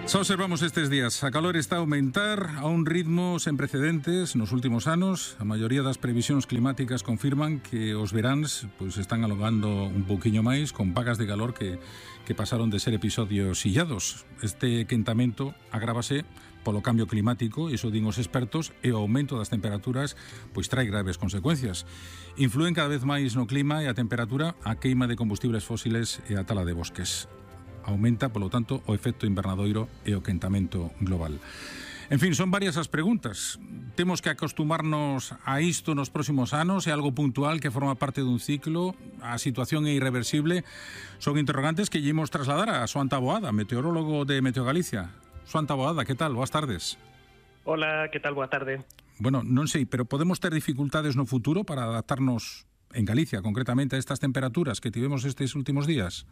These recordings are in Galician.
Xa observamos estes días, a calor está a aumentar a un ritmo sen precedentes nos últimos anos. A maioría das previsións climáticas confirman que os veráns pois están alongando un pouquiño máis, con vagas de calor que pasaron de ser episodios illados. Este quentamento agrávase polo cambio climático, iso din os expertos, e o aumento das temperaturas pois trae graves consecuencias. Influen cada vez máis no clima e a temperatura a queima de combustibles fósiles e a tala de bosques. Aumenta, polo tanto, o efecto invernadoiro e o quentamento global. En fin, son varias as preguntas. Temos que acostumarnos a isto nos próximos anos? É algo puntual que forma parte dun ciclo? A situación é irreversible? Son interrogantes que lle imos trasladar a Xoán Taboada, meteorólogo de Meteo Galicia. Xoán Taboada, que tal? Boas tardes. Hola, que tal? Boa tarde. Bueno, non sei, pero podemos ter dificultades no futuro para adaptarnos en Galicia, concretamente, a estas temperaturas que tivemos estes últimos días?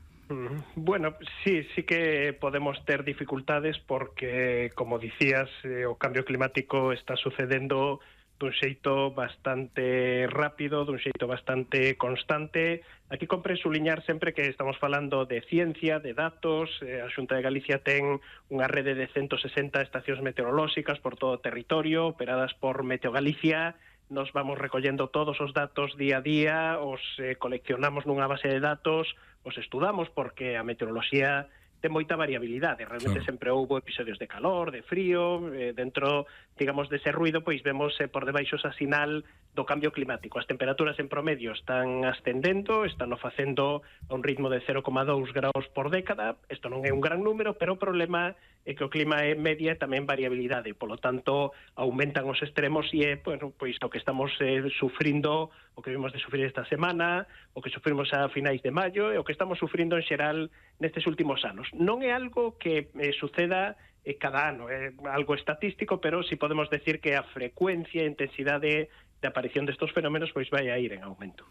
Bueno, sí que podemos ter dificultades porque, como dicías, o cambio climático está sucedendo dun xeito bastante rápido, dun xeito bastante constante. Aquí compre suliñar sempre que estamos falando de ciencia, de datos. A Xunta de Galicia ten unha rede de 160 estacións meteorolóxicas por todo o territorio, operadas por Meteo Galicia. Nos vamos recollendo todos os datos día a día, os coleccionamos nunha base de datos, os estudamos porque a meteoroloxía ten moita variabilidade. Realmente sempre houbo episodios de calor, de frío, dentro, digamos, dese ruido, pois vemos por debaixo esa sinal do cambio climático. As temperaturas en promedio están ascendendo, están o facendo a un ritmo de 0,2 graus por década. Isto non é un gran número, pero o problema é que o clima é media e tamén variabilidade. Polo tanto, aumentan os extremos e é, bueno, pois o que estamos sufrindo, o que vimos de sufrir esta semana, o que sufrimos a finais de maio e o que estamos sufrindo en xeral nestes últimos anos. Non é algo que suceda cada ano, é algo estatístico, pero si podemos decir que a frecuencia e intensidade de aparición destos fenómenos pois vai a ir en aumento.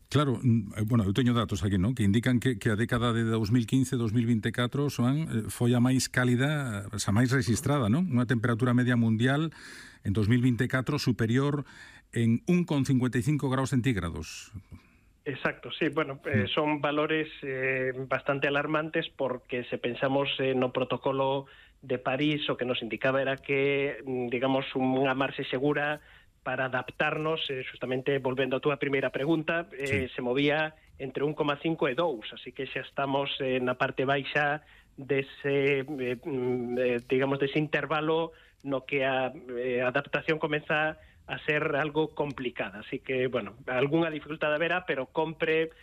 Claro, bueno, eu teño datos aquí, non? Que indican que a década de 2015-2024 foi a máis cálida, a máis registrada, non? Unha temperatura media mundial en 2024 superior en 1,55 graus centígrados. Exacto, sí, bueno, son valores bastante alarmantes porque se pensamos no protocolo de París, o que nos indicaba era que, digamos, unha marxe segura para adaptarnos, justamente volvendo a túa primeira pregunta, se movía entre 1,5 e 2, así que xa estamos na parte baixa dese, digamos, dese intervalo no que a adaptación comeza a ser algo complicada. Así que, bueno, algunha dificultade haberá, pero compre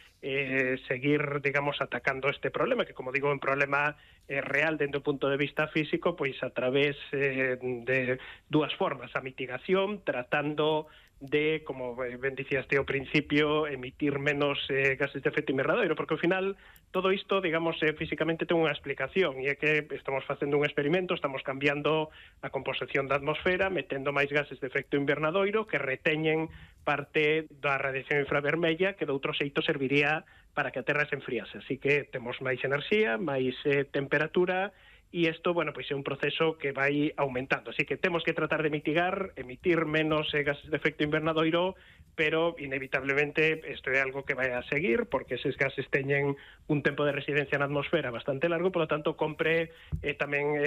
seguir, digamos, atacando este problema, que, como digo, é un problema real dentro do punto de vista físico, pois a través de dúas formas: a mitigación, tratando de, como ben dicías ao principio, emitir menos gases de efecto invernadoiro, porque ao final todo isto, digamos, físicamente ten unha explicación, e é que estamos facendo un experimento, estamos cambiando a composición da atmosfera, metendo máis gases de efecto invernadoiro que reteñen parte da radiación infravermella que de outro xeito serviría para que a Terra se enfriase. Así que temos máis enerxía, máis temperatura, e isto, bueno, pois é un proceso que vai aumentando. Así que temos que tratar de mitigar, emitir menos gases de efecto invernadoiro, pero inevitablemente isto é algo que vai a seguir, porque eses gases teñen un tempo de residencia na atmosfera bastante largo, polo tanto, compre tamén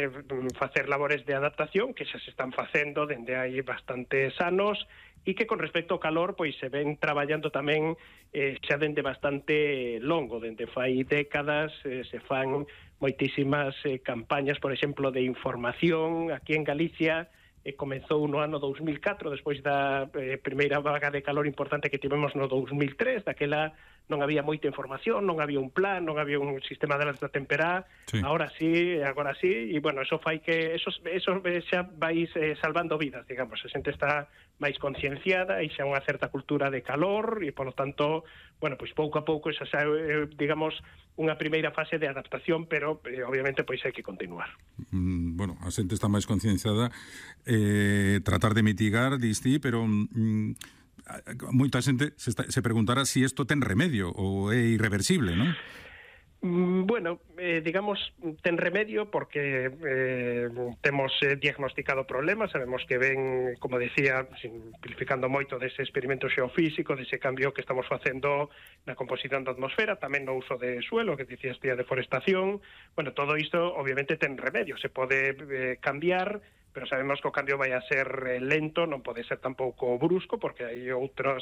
facer labores de adaptación, que xa se están facendo dende hai bastantes anos, e que con respecto ao calor, pois se ven traballando tamén xa dende bastante longo, dende fai décadas, se fan moitísimas campañas, por exemplo, de información. Aquí en Galicia comezou no ano 2004, despois da primeira vaga de calor importante que tivemos no 2003, daquela non había moita información, non había un plan, non había un sistema de alerta temperá. Sí. Agora sí, e bueno, eso fai que eso xa vai salvando vidas, digamos. A xente está máis concienciada e xa unha certa cultura de calor e, polo tanto, bueno, pois pouco a pouco esa xa, digamos, unha primeira fase de adaptación, pero obviamente pois hai que continuar. Bueno, a xente está máis concienciada, tratar de mitigar, diste, pero moita xente se preguntará se isto ten remedio ou é irreversible, non? Bueno, digamos, ten remedio porque temos diagnosticado problemas, sabemos que ven, como decía, simplificando moito dese experimento xeofísico, dese cambio que estamos facendo na composición da atmosfera, tamén no uso de suelo, que dicías ti, a deforestación. Bueno, todo isto obviamente ten remedio, se pode cambiar, pero sabemos que o cambio vai a ser lento, non pode ser tampouco brusco, porque hai outras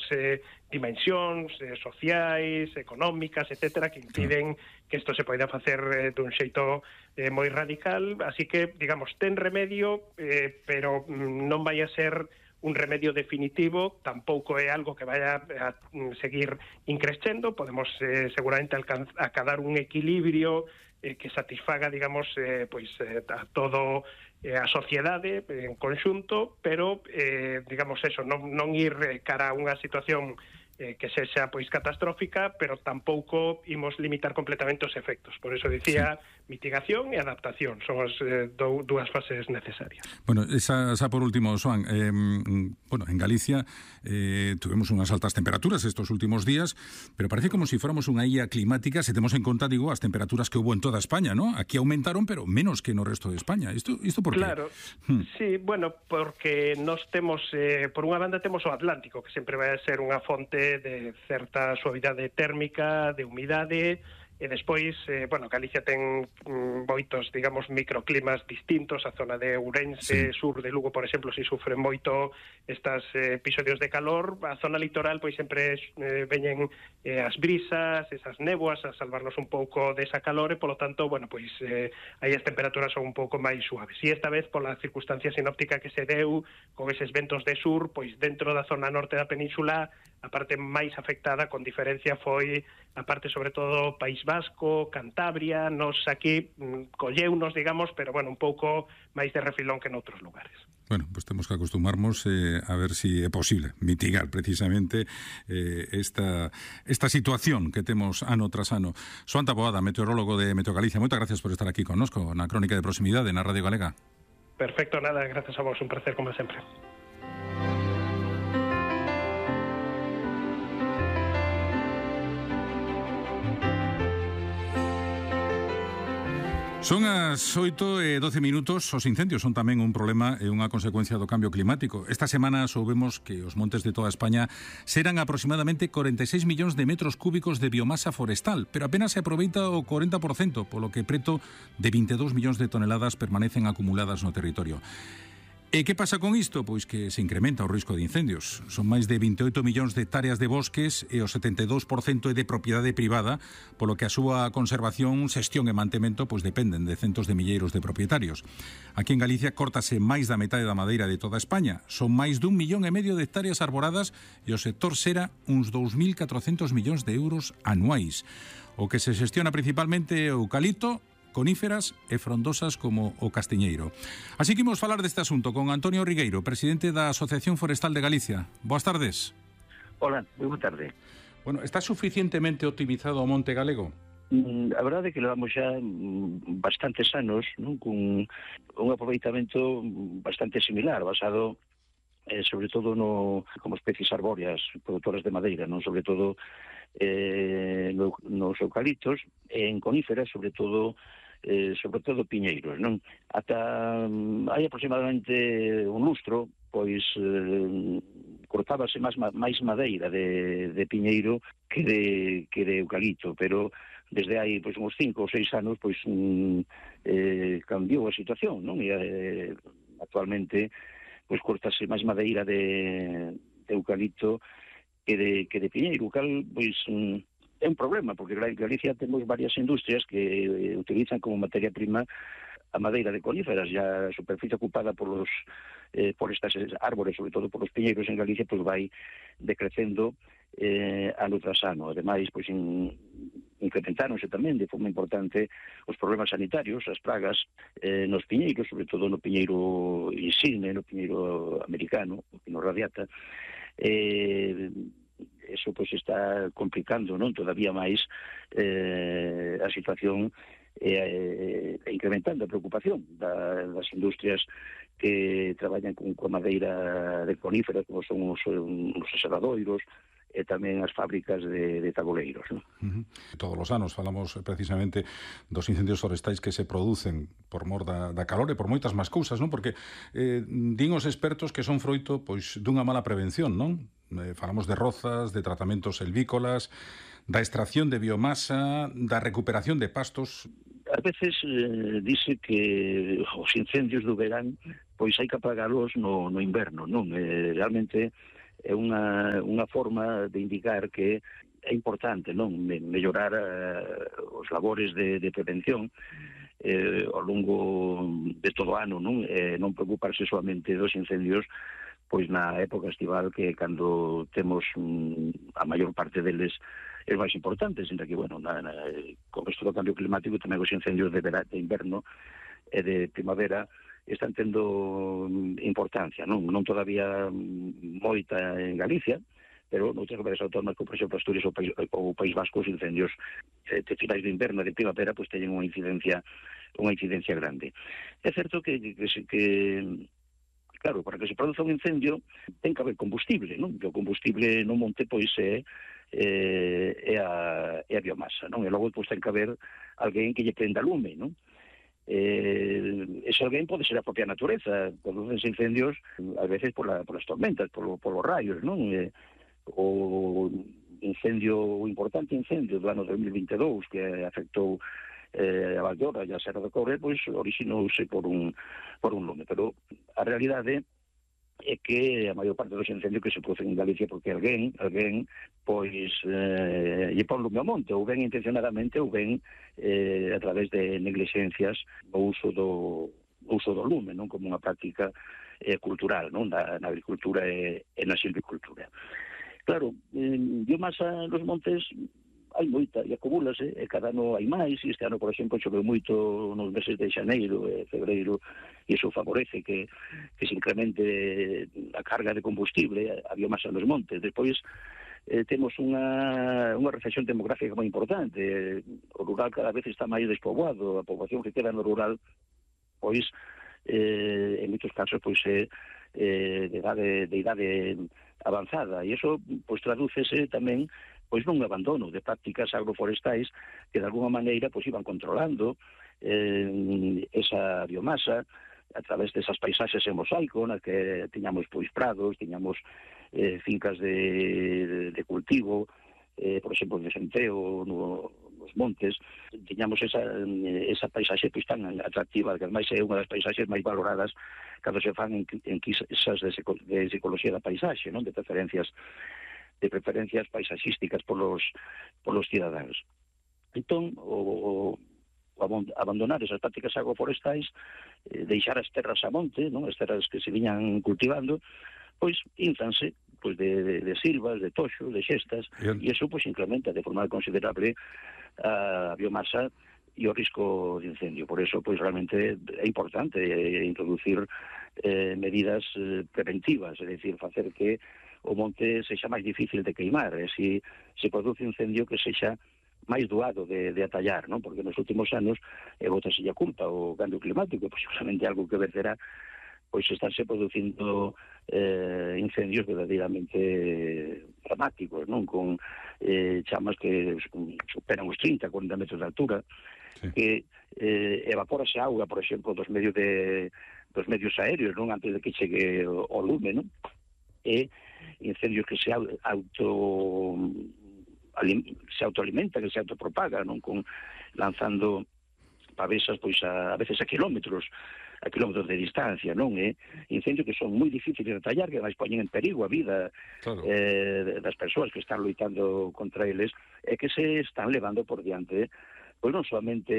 dimensións sociais, económicas, etcétera, que impiden que isto se poida facer dun xeito moi radical. Así que, digamos, ten remedio, pero non vai a ser un remedio definitivo, tampouco é algo que vaya a seguir increscendo, podemos seguramente acadar un equilibrio que satisfaga, digamos, a todo a sociedade en conxunto, pero, digamos, eso, non ir cara a unha situación que sexa pois catastrófica, pero tampouco imos limitar completamente os efectos. Por eso dicía mitigación e adaptación son as dúas fases necesarias. Bueno, esa por último, Xoán, bueno, en Galicia tuvemos unhas altas temperaturas estos últimos días, pero parece como si fuéramos unha illa climática, se temos en conta, digo, as temperaturas que hubo en toda España, ¿no? Aquí aumentaron, pero menos que no resto de España. Isto por qué? Claro, sí, bueno, porque nos temos, por unha banda temos o Atlántico, que sempre vai a ser unha fonte de certa suavidade térmica, de humidade, e despois, bueno, Galicia ten moitos, digamos, microclimas distintos. A zona de Ourense, sur de Lugo, por exemplo, si sufren moito estes episodios de calor. A zona litoral, pois sempre veñen as brisas, esas néboas a salvarnos un pouco desa calor, e polo tanto, bueno, pois aí as temperaturas son un pouco máis suaves. E esta vez, pola circunstancia sinóptica que se deu, con eses ventos de sur, pois dentro da zona norte da península, a parte máis afectada, con diferencia, foi a parte, sobre todo, País Vasco, Cantabria. Nos aquí colleunos, digamos, pero, bueno, un pouco máis de refilón que noutros lugares. Bueno, pues temos que acostumarnos a ver si é posible mitigar precisamente esta situación que temos ano tras ano. Xoán Taboada, meteorólogo de Meteo Galicia, moitas gracias por estar aquí connosco na Crónica de Proximidade na Radio Galega. Perfecto, nada, gracias a vos, un placer como sempre. Son as 8:12. Os incendios son tamén un problema e unha consecuencia do cambio climático. Esta semana soubemos que os montes de toda España serán aproximadamente 46 millóns de metros cúbicos de biomasa forestal, pero apenas se aproveita o 40%, polo que preto de 22 millóns de toneladas permanecen acumuladas no territorio. E que pasa con isto? Pois que se incrementa o risco de incendios. Son máis de 28 millóns de hectáreas de bosques e o 72% é de propiedade privada, polo que a súa conservación, xestión e mantemento pois dependen de centos de milleiros de propietarios. Aquí en Galicia córtase máis da metade da madeira de toda España. Son máis de 1,5 millón de hectáreas arboradas e o sector xera uns 2.400 millóns de euros anuais. O que se xestiona principalmente é o eucalipto, coníferas e frondosas como o castiñeiro. Así que imos falar deste asunto con Antonio Rigueiro, presidente da Asociación Forestal de Galicia. Boas tardes. Hola, moi boa tarde. Bueno, está suficientemente optimizado o monte galego? A verdade é que levamos xa bastantes anos, non, con un aproveitamento bastante similar, basado sobre todo como especies arbóreas produtoras de madeira, non, sobre todo nos eucaliptos, e en coníferas, sobre todo piñeiros, non? Ata hai aproximadamente un lustro, pois cortábase máis madeira de piñeiro que de eucalipto, pero desde hai pois uns 5 ou 6 anos pois cambiou a situación, non? E actualmente pois cortase máis madeira de eucalipto que de piñeiro, cal pois é un problema, porque en Galicia temos varias industrias que utilizan como materia prima a madeira de coníferas, e a superficie ocupada por estas árbores, sobre todo por os piñeiros en Galicia, pois vai decrecendo ano tras ano. Ademais, pois incrementáronse tamén de forma importante os problemas sanitarios, as pragas nos piñeiros, sobre todo no piñeiro insigne, no piñeiro americano, o pino radiata. Eso pois está complicando, non, todavía máis a situación e incrementando a preocupación das industrias que traballan con madeira de coníferas, como son os aserradoiros, e tamén as fábricas de taboleiros, non? Todos os anos falamos precisamente dos incendios forestais que se producen por mor da calor e por moitas máis cousas, non? Porque din os expertos que son froito pois dunha mala prevención, non? Falamos de rozas, de tratamentos selvícolas, da extracción de biomasa, da recuperación de pastos. A veces dice que os incendios do verán pois hai que apagalos no inverno, non? Realmente é unha forma de indicar que é importante, non, mellorar os labores de prevención ao longo de todo o ano, non? Non preocuparse solamente dos incendios pois na época estival, que cando temos a maior parte deles é máis importante, sinta que, bueno, con isto do cambio climático tamén os incendios de inverno e de primavera están tendo importancia, non todavía moita en Galicia, pero noutras comunidades autónomas, como por exemplo Asturias ou País Vasco, os incendios de finais de inverno e de primavera pois teñen unha incidencia grande. É certo que claro, para que se produza un incendio ten que haber combustible, non? O combustible no monte pois é a biomasa, non? E logo pois ten que haber alguén que lle prenda lume, non? Ese alguén pode ser a propia natureza. Producense incendios a veces por las tormentas, por los rayos, non? O importante incendio do ano 2022 que afectou a Valdeorra e a Serra do Cobre, pois orixinouse por un lume, pero a realidade é que a maior parte dos incendios que se producen en Galicia porque alguén pois lle pon lume ao monte, ou ben intencionadamente ou ben a través de negligencias o uso do lume, non, como unha práctica cultural, non, na agricultura e na silvicultura. Claro, biomasa nos montes hai moita e acumúlase, e cada ano hai máis, e este ano, por exemplo, choveu moito nos meses de xaneiro e febreiro, e iso favorece que se incremente a carga de combustible, a biomasa nos montes. Despois temos unha recesión demográfica moi importante. O rural cada vez está máis despoboado, a poboación que queda no rural, pois, en moitos casos, pois é de idade avanzada, e iso pois tradúcese tamén pois nun abandono de prácticas agroforestais que de alguma maneira pois iban controlando esa biomasa a través desas paisaxes en mosaico, na que tiñamos pois prados, tiñamos fincas de cultivo, por exemplo, de centeo nos montes, tiñamos esa paisaxe pois tan atractiva, que ademais é unha das paisaxes máis valoradas cando se fan en quisas de psicoloxía da paisaxe, non, de preferencias paisaxísticas polos cidadáns. Entón, o abandonar esas prácticas agroforestais, deixar as terras a monte, non, as terras que se viñan cultivando, pois ínfanse pois de silvas, de toxos, de xestas, e iso pois incrementa de forma considerable a biomasa e o risco de incendio. Por eso, pois realmente é importante introducir medidas preventivas, é dicir, facer que o monte sexa máis difícil de queimar, e se produce incendio que sexa máis doado de atallar, non? Porque nos últimos anos bótase a culpa o cambio climático, pois seguramente algo que verterá pois estarse producindo incendios verdadeiramente dramáticos, non, con chamas que superan os 30-40 metros de altura, sí, que evapórase auga, por exemplo, dos medios aéreos, non, antes de que chegue o lume, non? E incendios que se autoalimentan, que se autopropagan, non, con lanzando pavesas pois a veces a kilómetros de distancia, non? Incendios que son moi difíciles de atallar, que ademais poñen en perigo a vida, claro, das persoas que están loitando contra eles, e que se están levando por diante pois non solamente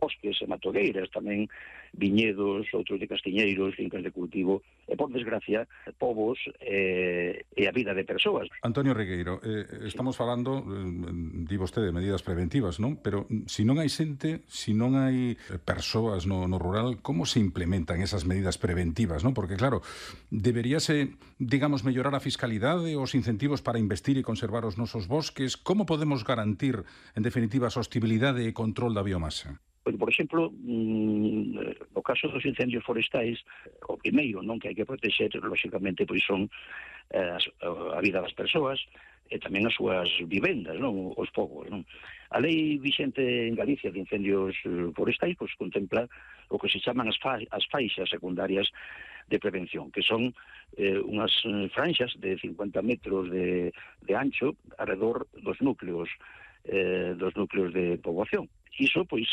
bosques e matogueiras, tamén viñedos, outros de castiñeiros, fincas de cultivo, e por desgracia, povos e a vida de persoas. Antonio Regueiro, estamos falando, di vostede, de medidas preventivas, non? Pero se non hai xente, se non hai persoas no rural, como se implementan esas medidas preventivas, non? Porque, claro, deberíase, digamos, mellorar a fiscalidade, os incentivos para investir e conservar os nosos bosques. Como podemos garantir, en definitiva, a sostibilidade e control da biomasa? Pois, por exemplo, no caso dos incendios forestais, o primeiro, non, que hai que protexer, lóxicamente, pois son a vida das persoas e tamén as súas vivendas, non, os povos, non. A lei vixente en Galicia de incendios forestais pois contempla o que se chaman as faixas secundarias de prevención, que son unhas franxas de 50 metros de ancho alrededor dos núcleos de poboación. Iso, pois,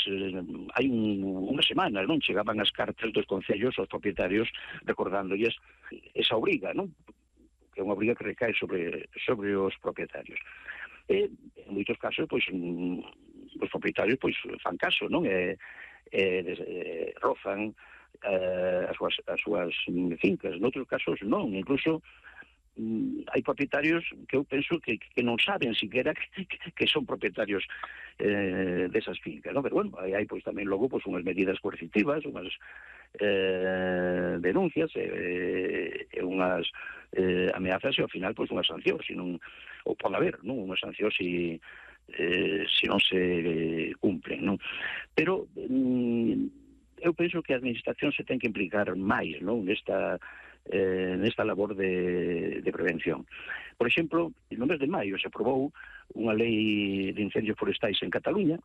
hai unha semana, non? Chegaban as cartas dos concellos aos propietarios recordándolles esa obriga, non? Que é unha obriga que recae sobre os propietarios. E, en moitos casos, pois, os propietarios, pois, fan caso, non? Rozan as súas fincas. Noutros casos, non. Incluso, hai propietarios que eu penso que non saben siquiera que son propietarios desas fincas, non? Pero, bueno, hai pois tamén logo pois unhas medidas coercitivas, unhas denuncias e unhas ameazas e ao final pois unhas sancións, ou pode haber, non? Unhas sancións se non se cumplen, non? Pero eu penso que a administración se ten que implicar máis, non? Nesta labor de prevención. Por exemplo, no mes de maio se aprobou unha lei de incendios forestais en Cataluña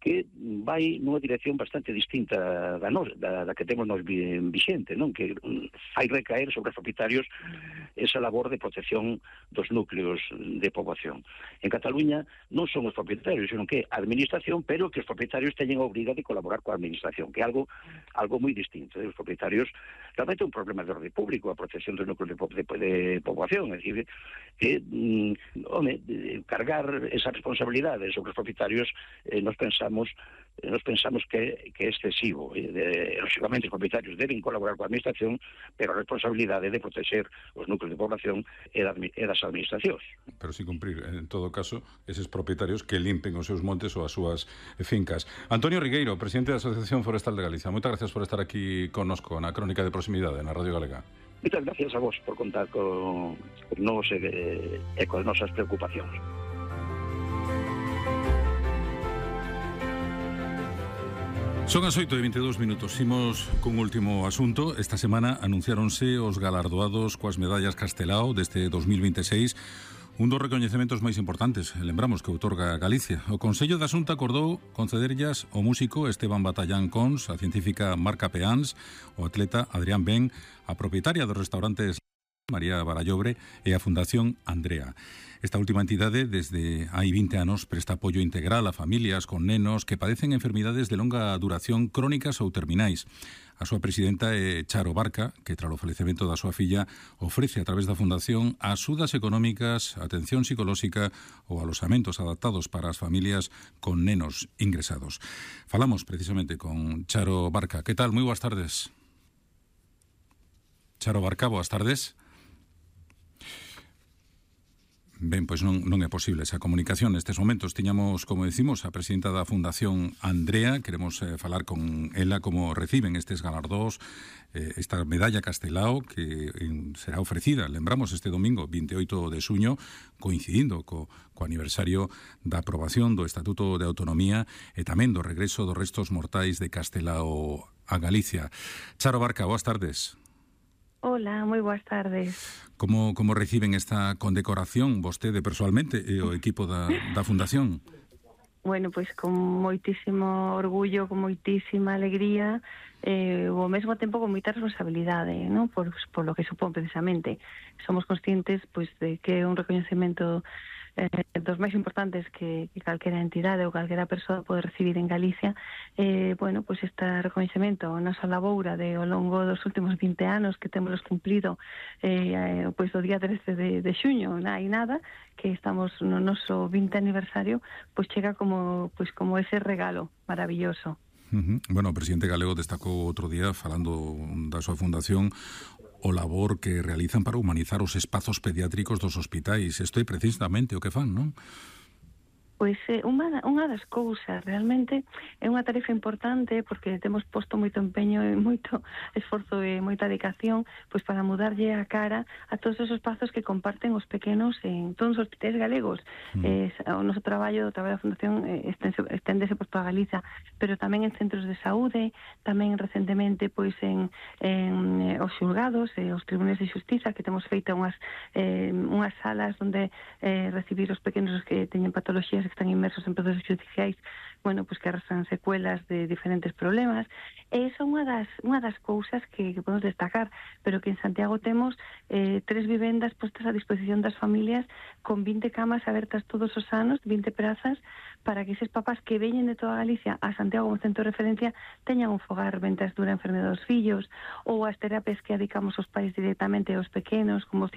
que vai nunha dirección bastante distinta da que temos nos vixente, non? Que fai recaer sobre os propietarios esa labor de protección dos núcleos de poboación. En Cataluña non son os propietarios, senón que a administración, pero que os propietarios teñen a obriga de colaborar coa administración, que é algo moi distinto. Os propietarios realmente é un problema de orde público, a protección dos núcleos de poboación, é dicir, que cargar esa responsabilidade sobre os propietarios nos pensamos que é excesivo. Lógicamente, os propietarios deben colaborar coa administración, pero a responsabilidade de proteger os núcleos de población é das administracións. Pero sin cumprir, en todo caso, eses propietarios que limpen os seus montes ou as súas fincas. Antonio Rigueiro, presidente da Asociación Forestal de Galicia, moitas gracias por estar aquí connosco na Crónica de Proximidade na Radio Galega. Moitas gracias a vos por contar con nos e con as nosas preocupacións. Son as 8:22. Imos cun último asunto. Esta semana anunciáronse os galardoados coas medallas Castelao deste 2026, un dos recoñecementos máis importantes, lembramos, que outorga Galicia. O Consello da Xunta acordou concederllas ao músico Esteban Batallán Cons, a científica Marca Peáns, o atleta Adrián Ben, a propietaria dos restaurantes María Barallobre e a Fundación Andrea. Esta última entidade, desde hai 20 anos, presta apoio integral a familias con nenos que padecen enfermidades de longa duración crónicas ou terminais. A súa presidenta é Charo Barca, que tras o falecemento da súa filla ofrece a través da Fundación axudas económicas, atención psicolóxica ou alosamentos adaptados para as familias con nenos ingresados. Falamos precisamente con Charo Barca. Que tal? Moi boas tardes. Charo Barca, boas tardes. Ben, pois non é posible esa comunicación nestes momentos. Tiñamos, como decimos, a presidenta da Fundación Andrea. Queremos falar con ela como reciben estes galardós, esta medalla Castelao que será ofrecida, lembramos, este domingo 28 de xuño, coincidindo co aniversario da aprobación do Estatuto de Autonomía e tamén do regreso dos restos mortais de Castelao a Galicia. Charo Barca, boas tardes. Hola, moi boas tardes. Como reciben esta condecoración vostede persoalmente e o equipo da Fundación? Bueno, pois con moitísimo orgullo, con moitísima alegría, ao mesmo tempo con moita responsabilidade, non? Por lo que supón precisamente. Somos conscientes pois de que é un recoñecemento dos máis importantes que calquera entidade ou calquera persoa pode recibir en Galicia. Bueno, pois este recoñecemento, a nosa laboura ao longo dos últimos 20 anos que temos cumplido pois do día 13 de xuño, hai nada, que estamos no noso 20 aniversario, pois chega como ese regalo maravilloso. Bueno, o presidente galego destacou outro día, falando da súa fundación, o labor que realizan para humanizar os espazos pediátricos dos hospitais. Isto é precisamente o que fan, non? Pois unha das cousas, realmente é unha tarefa importante porque temos posto moito empeño e moito esforzo e moita dedicación pois para mudarlle a cara a todos esos espazos que comparten os pequenos en todos os hospitais galegos. O noso traballo da Fundación esténdese por toda Galiza, pero tamén en centros de saúde, tamén recentemente pois en os xulgados e os tribunais de xustiza, que temos feito unhas salas onde recibir os pequenos que teñen patoloxías que están inmersos en procesos judiciais, bueno, pois que arrastran secuelas de diferentes problemas. E esa é unha das cousas que podemos destacar, pero que en Santiago temos 3 vivendas postas a disposición das familias con 20 camas abertas todos os anos, 20 prazas, para que eses papás que veñen de toda Galicia a Santiago como centro de referencia teñan un fogar ventas dura enfermedade dos fillos, ou as terapias que adicamos aos pais directamente aos pequenos, como os